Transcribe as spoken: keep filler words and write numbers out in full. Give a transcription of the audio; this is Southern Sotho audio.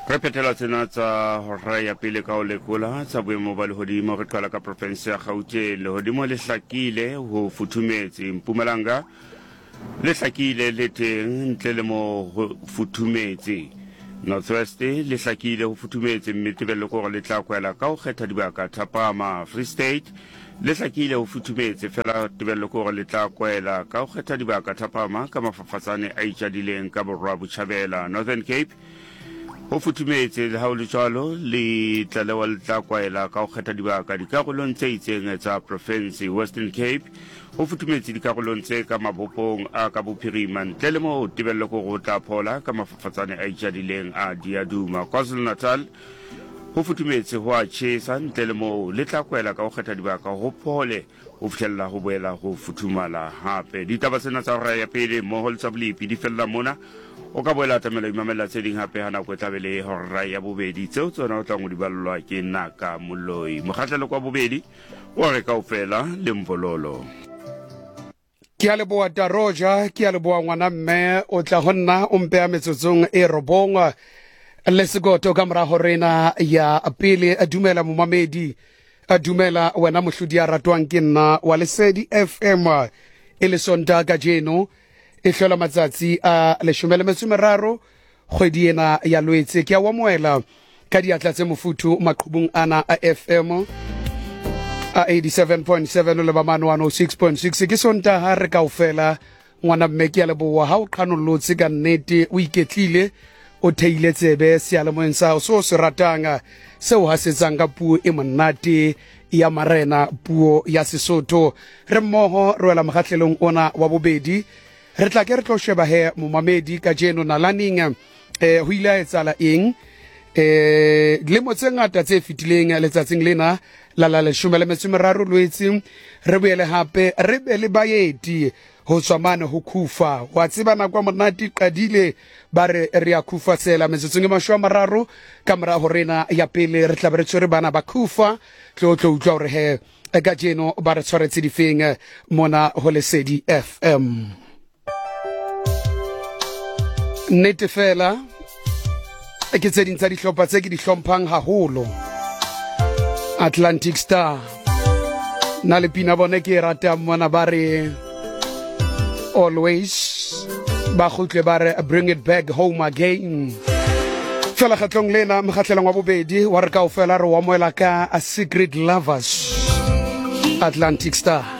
Re phethela tsena tsa hora ya pele ka ho lekola tsa boemo ba lehodimo. Re qala ka profense ya Gauteng. Lehodimo le hlakile, ho futhumetse. Mpumalanga le hlakile le teng, ntle le mo ho futhumetse. Northwest le hlakile, ho futhumetse, mme tebello ke hore le tla kwela ka ho kgetha dibaka thapama. Free State le hlakile, ho futhumetse, fela tebello ke hore le tla kwela ka ho kgetha dibaka thapama ka mafafatsane a itjadileng ka borwa botjhabela. Northern Cape ho futhumetse, le ha ho le jwalo le tlalewa le tla kwaela ka ho kgetha dibaka dikarolong tse itseng tsa profense. Western Cape ho futhumetse dikarolong tse ka mabopong a ka bophirima, ntle le moo tebello ke hore ho tla phola ka mafafatsane a itjadileng a diaduma. KwaZulu-Natal ho futhumetse, ho a tjhesa, ntle le moo le tla kwela ka ho kgetha dibaka ho phole ho fihlella ho boela ho futhumala hape. Ditaba tsena tsa hora ya pele mmoho le tsa bolepi di fella mona. O ka boela atamela imamella tse ding hape ha nako e tla be le hora ya bobedi, tseo tsona o tlang ho di ballwa ke Naka Moloi. Mokgahlelo kwa bobedi wa re kaofela le mvololo. Ke a leboha Taroja, ke a leboha ngwana mme, o tla ho nna o mpeha metsotsong e robong le sekoto ka mora horena ya pele. Dumela momamedi, dumela wena mohlodi a ratwang ke nna wa Lesedi F M. E le Sontaha kajeno e hlola matsatsi a leshome le metso e meraro kgwedi ena ya Lwetse. Ke a o amohela ka diatla tse mofuthu maqhubung ana a F M a eighty-seven point seven le ba mane one oh six point six. Ke Sontaha re kaofela ngwana mme, ke a leboha ha o qhanollotse ka nnete, o iketlile, o theile tsebe seyalemoyeng sa hao seo se ratang, seo hasetsang ka puo e monate ya marena, puo ya Sesotho. Re mmoho re wela mokgahlelong ona wa bobedi. Re tla ke re tlo sheba he momamedi kajeno nalaneng eh ho ile ha etsahala eng eh dilemo tse ngata tse fetileng letsatsing lena la la leshome le metso e meraro Lwetse. Re boele hape re be le baeti ho tswa mane ho Khufa. Wa tseba nako ya monate qadile, ba re re ya Khufa tsela metsotsong e mashome a mararo ka mora horena ya pele. Re tla be re tshwere bana ba Khufa, tlo tlo utlwa hore he kajeno ba re tshwaretse difeng mona ho Lesedi F M. Nnete fela ke tse ding tsa dihlopha tse ke di hlomphang haholo, Atlantic Star. Na le pina bone ke e ratang mona, ba re always ba kgutle ba re bring it back home again. Fela kgetlong lena mokgahlelong wa bobedi wa re kaofela re o amohela ka A Secret Lovers, Atlantic Star.